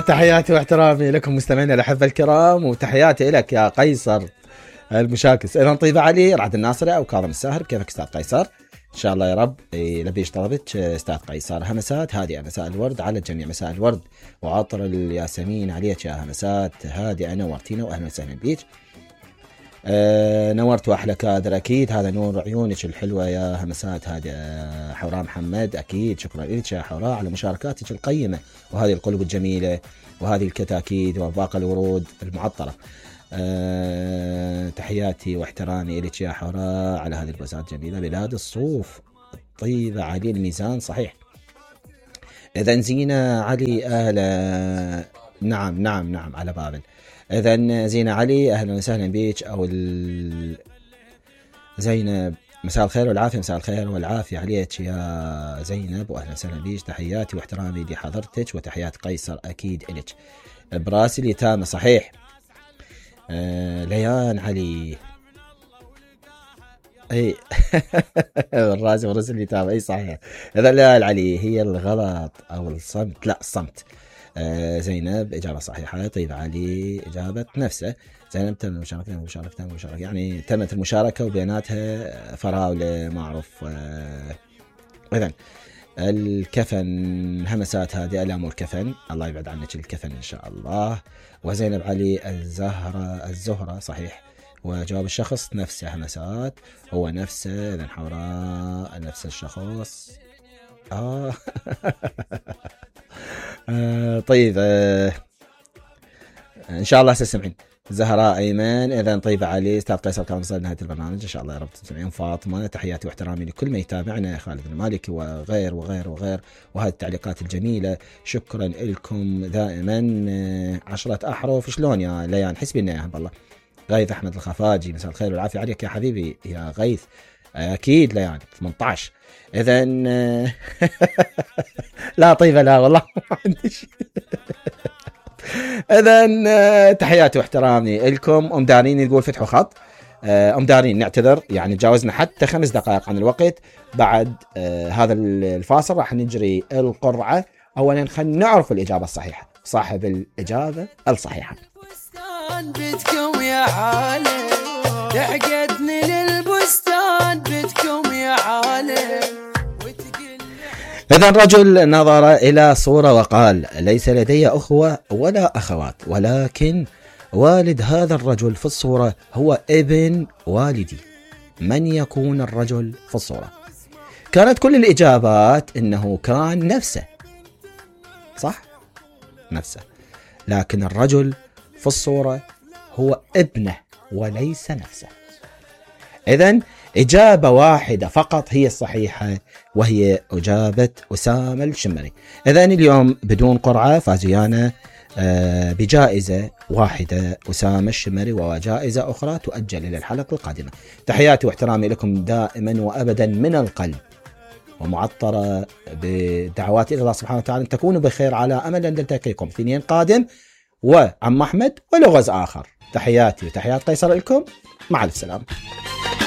تحياتي واحترامي لكم مستمعينا الأحبة الكرام، وتحياتي لك يا قيصر المشاكس. إذا طيب علي رعد الناصري أو كاظم الساهر، كيفك أستاذ قيصر؟ إن شاء الله يا رب لبيش طلبتش أستاذ قيصر. همسات هادئة، مساء الورد على الجميع، مساء الورد وعطر الياسمين عليك يا همسات هادئة، نورتينا وأهلا وسهلا بيك. نورت واحلى كادر اكيد، هذا نور عيونك الحلوه يا همسات. هذا حوراء محمد، اكيد شكرا لك يا حوراء على مشاركاتك القيمه وهذه القلوب الجميله وهذه الكتاكيت وباقي الورود المعطره. تحياتي واحترامي لك يا حوراء على هذه البوسات الجميله. بلاد الصوف طيبه علي الميزان صحيح. اذا زينه علي اهلا. نعم على بابل. إذن زينة علي أهلا وسهلا بيك، أو زينب مساء الخير والعافية. مساء الخير والعافية عليك يا زينب وأهلا وسهلا بيك. تحياتي واحترامي لحضرتك وتحيات قيصر أكيد إلك. براسي اليتامى صحيح. ليان علي أي الراسي ورسل اليتامى أي صحيح. إذا ليان علي هي الغلط أو الصمت، لا الصمت. زينب إجابة صحيحة. طيب علي إجابة نفسه. زينب تم المشاركة يعني تمت المشاركة وبيناتها فراولة معروف. إذن الكفن همسات هذه الأمور كفن، الله يبعد عنك الكفن إن شاء الله. وزينب علي الزهرة صحيح، وجواب الشخص نفسه همسات هو نفسه. إذن حوراء نفس الشخص. طيب ان شاء الله تسمعين. زهراء ايمن. اذا طيب علي استاذ قيصر كان وصل نهايه البرنامج ان شاء الله يا رب تسمعين. فاطمه تحياتي واحترامي لكل من يتابعنا، خالد المالكي وغير وغير وغير، وهذه التعليقات الجميله شكرا لكم دائما. 10 احرف شلون يا ليان؟ حسبي لنا اياها بالله. غيث احمد الخفاجي مساء الخير والعافيه عليك يا حبيبي يا غيث. اكيد ليان 18. اذا لا طيبه لا والله ما عندي شيء. اذا تحياتي واحترامي لكم. ام دارين يقول فتحوا خط. ام دارين نعتذر يعني تجاوزنا حتى 5 دقائق عن الوقت. بعد هذا الفاصل راح نجري القرعه. اولا خلينا نعرف الاجابه الصحيحه، صاحب الاجابه الصحيحه. بدكم يا عالم تعقدني للبستان بدكم يا عالم. إذا رجل نظر إلى صورة وقال ليس لدي أخوة ولا أخوات، ولكن والد هذا الرجل في الصورة هو ابن والدي. من يكون الرجل في الصورة؟ كانت كل الإجابات إنه كان نفسه، صح؟ نفسه، لكن الرجل في الصورة هو ابنه وليس نفسه. إذن إجابة واحدة فقط هي الصحيحة، وهي إجابة أسامة الشمري. إذن اليوم بدون قرعة فازيانا بجائزة واحدة أسامة الشمري، وجائزة أخرى تؤجل إلى الحلقة القادمة. تحياتي واحترامي لكم دائما وأبدا من القلب، ومعطرة بدعواتي إلى الله سبحانه وتعالى أن تكونوا بخير على أمل أن نلتقيكم في اثنين قادم وعم أحمد ولغز آخر. تحياتي وتحيات قيصر لكم، مع السلامة.